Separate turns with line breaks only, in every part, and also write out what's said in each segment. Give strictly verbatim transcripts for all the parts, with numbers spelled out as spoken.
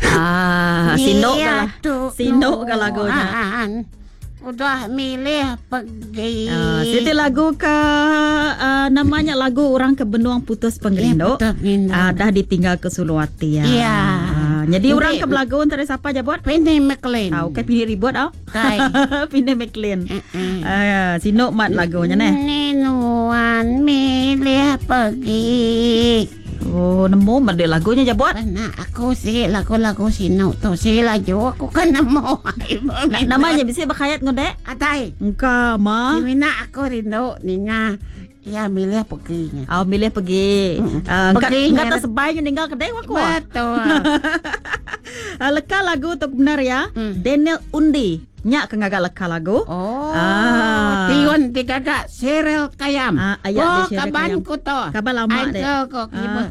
Ah, sinduk ka lah. Sinduk ka lagunya.
Udah milih pergi.
Uh, siti lagu ke uh, namanya lagu orang ke benung putus pengerindu.
Ya, uh,
uh, dah ditinggal ke Suluati ya.
Ya.
Uh, jadi orang ke belagu antara siapa je buat?
Penny McLean.
Ah, okey Pini ribut tau.
Kai.
Penny McLean. Uh-uh. Uh, sinuk mat lagunya neh.
Nuan milih pergi.
Oh, nemu mat dia lagunya je buat.
Nah, aku sih lagu-lagu sinuk tu sih laju aku kan nemu.
Namanya bisa berkhayat ngode?
Atai.
Engka ma.
Mina aku rindu ninga. Ya milih pergi.
Oh, milih pergi. Uh, pergi. Engka tak sebainya ninggal kedai aku.
Betul.
uh, leka lagu tu benar ya. Hmm. Daniel Undi. Nyak ke ngagak leka lagu.
Oh. Ah. Tiun digagak Cheryl Kayam.
Ah, ayat
oh,
dia Cheryl
kaban
Kayam.
Ku to.
Kaban lama deh.
Ko ah.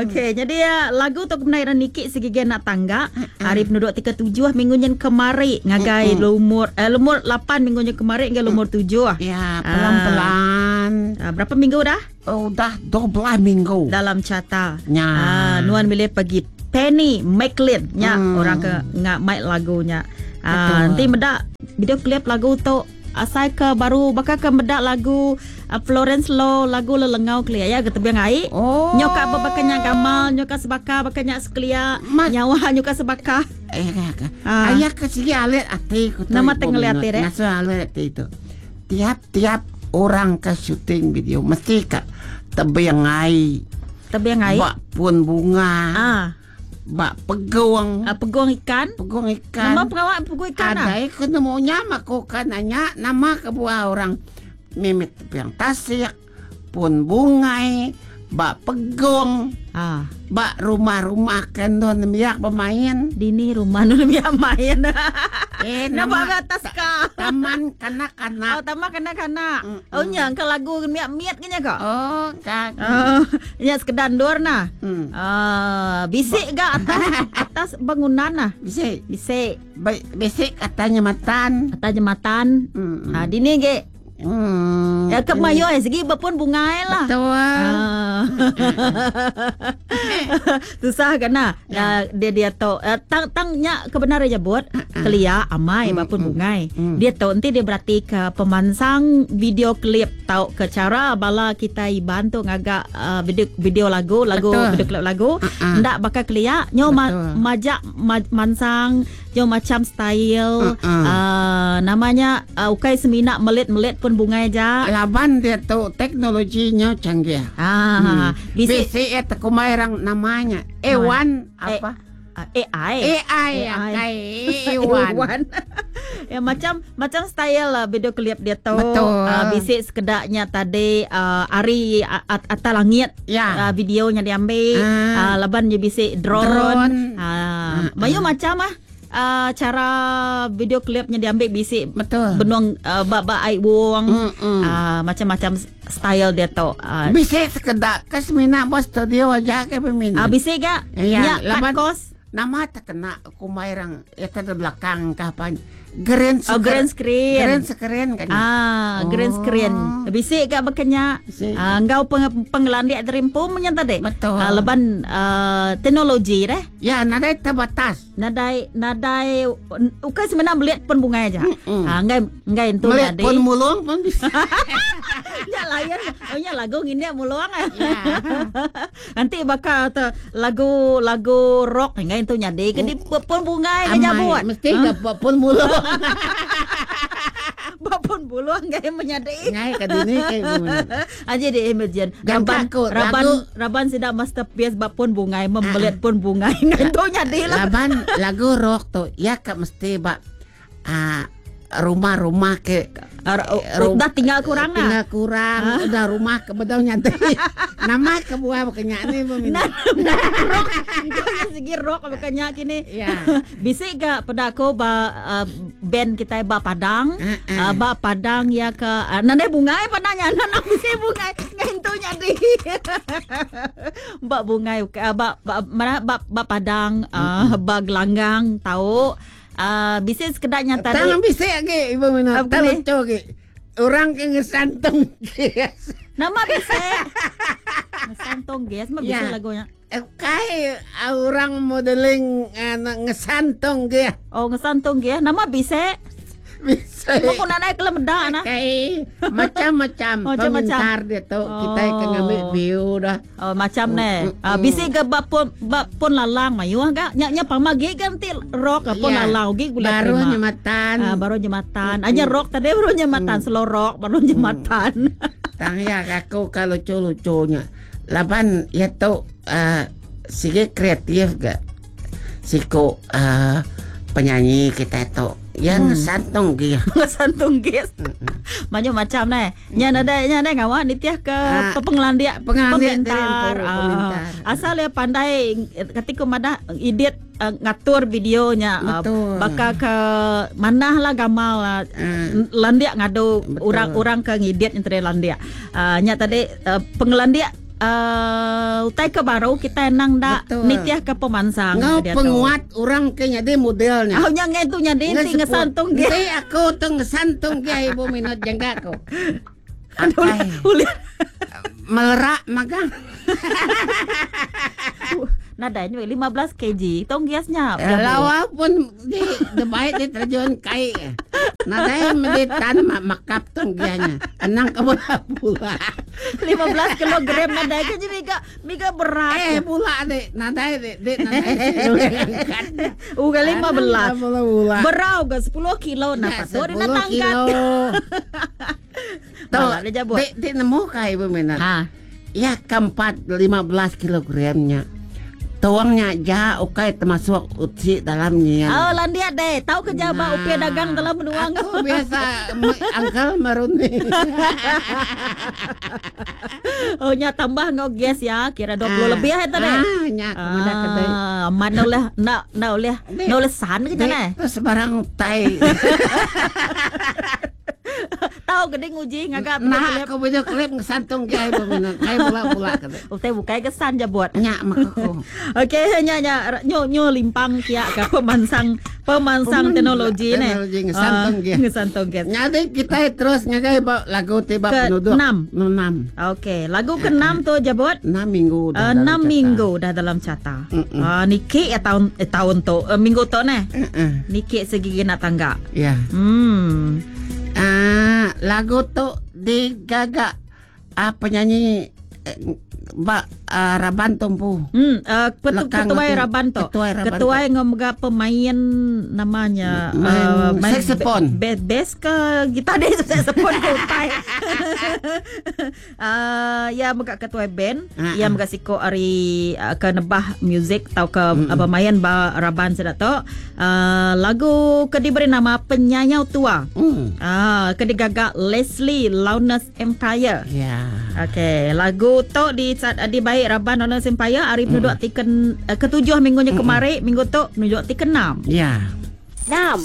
Okey, hmm. jadi ya, lagu tu kebenaran Nikik segigi anak tangga. Hari penduduk tiga tujuh minggu nyen kemari ngagai uh-uh. lumur eh lumur lapan minggu nyen kemari ngagai lumur tujuh.
Ya, pelan-pelan.
Ah, berapa minggu dah?
Oh, dah dua belas minggu.
Dalam carta.
Ya.
Ah, nuan milih pergi Penny McLean nya
hmm.
orang ke ngak mic lagunya. Ah, nanti medak video klip lagu tu asai ke baru bakal ke medak lagu uh, Florence Low lagu lelengau kelia ya ke tebiang ai.
Oh.
Nyoka bakanya gamal nyoka sebaka bakanya sekelia
Ma-
nyawa nyoka sebaka.
Eh ah. Ayah ke sigi alit ati ku tu.
Nama tengeli ati deh.
Ngasu alit ati tu. Tiap-tiap orang ke syuting video mesti ke tebiang ai.
Tebiang ai.
Bak pun bunga.
Ah.
Bak peguang.
Uh, peguang ikan.
Peguang ikan.
Nama pengawak peguang ikan.
Ada ikut nemunya aku kan nanya nama kebuah orang mimit tepiang tasik pun bungai bak peguang.
Ah.
Bak rumah-rumah kan don miak bermain.
Dini rumah nun miak main.
Eh
nama atas ka.
Taman kanak-kanak.
Oh, taman kanak-kanak. Mm-mm. Oh nya ke lagu miak-miat kenya kok.
Oh, kak.
Oh, nya sekedar dor nah.
Mm.
Ah, bisik ga atas atas bangunan nah.
Bisik.
Bisik.
Bisik katanya matan.
Atas jembatan.
Mm.
Ah, dini ge.
Hmm.
Ya ke mayo eh segi berpun bunga lah.
Betul.
Ah. Susah kan nah. Ya. Dia dia tu uh, tang tangnya kebenaran je buat kelia amai mm, berpun mm, bungai.
Mm.
Dia tu nanti dia berarti ke pemansang video klip tau ke cara bala kita iban tu ngagak uh, video video lagu lagu
Betul.
video klip lagu
Uh-uh.
ndak bakal kelia nyo ma- majak ma- mansang nyo macam style
Uh-uh.
uh, namanya uh, ukai semina melit-melit pun bunga aja.
Laban dia tu teknologinya canggih.
Ah,
hmm.
bisi
Bisi eh tekumai orang namanya. Ewan apa?
A I.
A I
A I.
Ewan.
Ya macam macam style lah video klip dia tu.
Betul.
Uh, bisik sekedaknya tadi uh, ari atas langit.
Ya.
Uh, videonya diambil.
Ah.
Uh, laban dia bisik drone.
Drone.
Uh, Mayu macam ah. Uh, cara video klipnya diambil bisik
Betul.
benung uh, bak-bak air wong
Mm-mm.
uh, macam-macam style dia tu. Uh,
Bisik sekedak ke semina bos studio aja ke pemina.
uh, bisik gak?
Ya,
Nya
laban-
cut cost.
Nama terkena kumai orang eta di belakang kapan. Green
Oh, green screen.
Green screen kan.
Ah,
Oh.
green screen. Bisik gak bekenya?
Bisik.
Ah, engkau peng penglandik terimpum nya tadi.
Betul.
Ah, leban uh, teknologi deh.
Ya, nadai terbatas.
Nadai nadai ukai sebenarnya melihat pun bunga aja.
Mm-mm.
Ah, enggai enggai itu
Melihat
tadi.
pun mulung pun bisa.
Ya layan. Oh ya lagu ngini muluang.
Ya.
Nanti bakal tu lagu lagu rock enggai itu nyadi ke di pun bunga ke nyabut.
Mesti ke pun mulung.
Bapun buluang gaya menyadai.
Ngai ke dini ke
Aja di imagine.
Dan
Raban
takut,
raban
lagu-
raban sidak masterpiece bapun bungai membelit pun bungai. Ngantu nyadi lah.
Laban lagu rock tu ya ke mesti bak ah, rumah-rumah ke
Uh, udah tinggal kurang lah.
Tinggal kurang, udah rumah ke bedau nyantai. Nama ke buah bukannya ni
Nah, nah, rock. Kau segi rock bukannya kini.
Ya.
Bisik gak pada aku ba uh, band kita ba Padang.
Uh-uh.
Uh, ba Padang ya ke uh, nandai bungai padanya nanam bisik bungai ngentu nyadi. Ba bungai uh, ba, ba mana ba, ba Padang uh, ba Gelanggang tahu. Uh, bisik sekedaknya tadi.
Tangan bisik lagi ibu minat.
Apa
Tak
ni?
lucu lagi. Orang ke ngesantung gas.
Nama bisik. Ngesantung gas, mah bisik
Ya.
lagunya.
Kai orang modeling uh, ngesantung dia.
Oh ngesantung dia. Nama bisa?
Bisa.
Mau nak naik ke lemeda nah.
Kai macam-macam
Oh, macam-macam.
pemintar dia tu. Kita
Oh.
ke ngambil view dah.
Oh, macam
Mm,
ne.
mm,
Ah,
mm.
bisi ke bab pun bab pun lalang mayuh ga. Nya nya pama gi kan ti rock pun
Ya.
lalang gi gula
Baru
terima.
nyematan.
Ah, baru jematan. Anya rock tadi baru jematan, slow rock baru jematan.
Tang ya aku kalau lucu-lucunya. Laban ya tu uh, sige kreatif ga. Siko uh, penyanyi kita tu yang
Hmm.
santung dia.
Santung gis. Macam macam ne. Nya nada nya nada ngawa nitiah ke
Ah,
pengelandia
pengelandia
pemintar.
dari
Ah,
pemintar.
asal dia pandai ketika madah edit uh, ngatur videonya ah,
Betul.
baka ke manah lah gamal lah
Ah.
landia ngadu
Betul.
orang-orang ke ngedit yang tadi landia. Uh, nya tadi uh, pengelandia uh, utai ke baru kita nang dak
Betul.
nitiah ke pemansang.
Ngau
dia tu.
penguat orang ke nyadi modelnya.
Ah, nya ngai tu nya di ti ngesantung dia.
Nanti aku tu ngesantung dia ibu minat jangka aku.
Ulih ulih.
Melerak magang.
Nada ni lima belas kilogram. Tong giasnya.
Lawa pun di di baik di terjun kai. Nadai di tan mak makap tong gianya. Anang kebula-bula.
lima belas kilogram nadai ke miga miga berat.
Eh bula dek, nadai dek, dek nadai.
Uga lima belas.
Bula-bula.
Berau ke sepuluh kilo
Ya,
nak patut dia nak
sepuluh
tangkat.
kilo. Tuh,
Malah dia jabut.
dek, dek nemu kai ibu minat.
Ha.
Ya keempat lima belas kilogramnya. Tuangnya ja ukai termasuk uci dalamnya.
Oh, landia deh. Tahu ke jaba
Nah,
upia dagang dalam menuang.
Aku biasa me- angkel meruni.
Oh, nya tambah ngau gas ya, kira dua puluh lebih ya tadi.
Ah, nya aku mana kedai.
Ah, mana oleh nak nak oleh
Dek.
nak oleh san ke
Dek,
jana?
tu sebarang tai.
Tahu ke dia nguji ngagak
Nah, aku video klip ngesantung dia ibu minat. Kai pula-pula kedai.
Utai bukai kesan je buat.
Nya makako.
Okey, nya nya nyo nyo limpang kia ke pemansang pemansang
Peman-
teknologi ni.
teknologi ngesantung
Ah,
dia.
Ngesantung gas.
Nyadi kita terus nyagai ba- lagu tiba
Ke
penduduk.
enam.
Enam.
Okey, lagu keenam tu jabut.
Enam minggu dah
Uh,
dalam
enam
carta.
minggu dah dalam carta.
Mm-mm.
Uh, niki ya tahun eh, tahun tu, uh, minggu tu ni.
Mm-mm.
Niki segigi nak tangga.
Ya.
Hmm.
Ah, lagu tu digagak ah, penyanyi eh, ba ah, Raban Tumpu.
Hmm, uh, ketu,
Lekang
ketuai
tu.
Raban tu.
Ketuai Raban
Ketuai ngomga pemain namanya
Main
uh,
saxophone.
Be, be, bass ke gitar dia saxophone ke utai. uh, ya mega ketuai band,
Ah,
ya
ah.
mega siko ari uh, ke nebah music atau ke mm pemain ba Raban sedak tu. Uh, lagu ke diberi nama Penyayau Tua.
Hmm.
Ah, ke digagak Leslie Loudness Empire.
Ya.
Okey, lagu tu di di baik Raban Loudness Empire hari penduduk ti ke, eh, ketujuh minggunya kemarin, minggu tu penduduk ti keenam.
Ya.
Enam.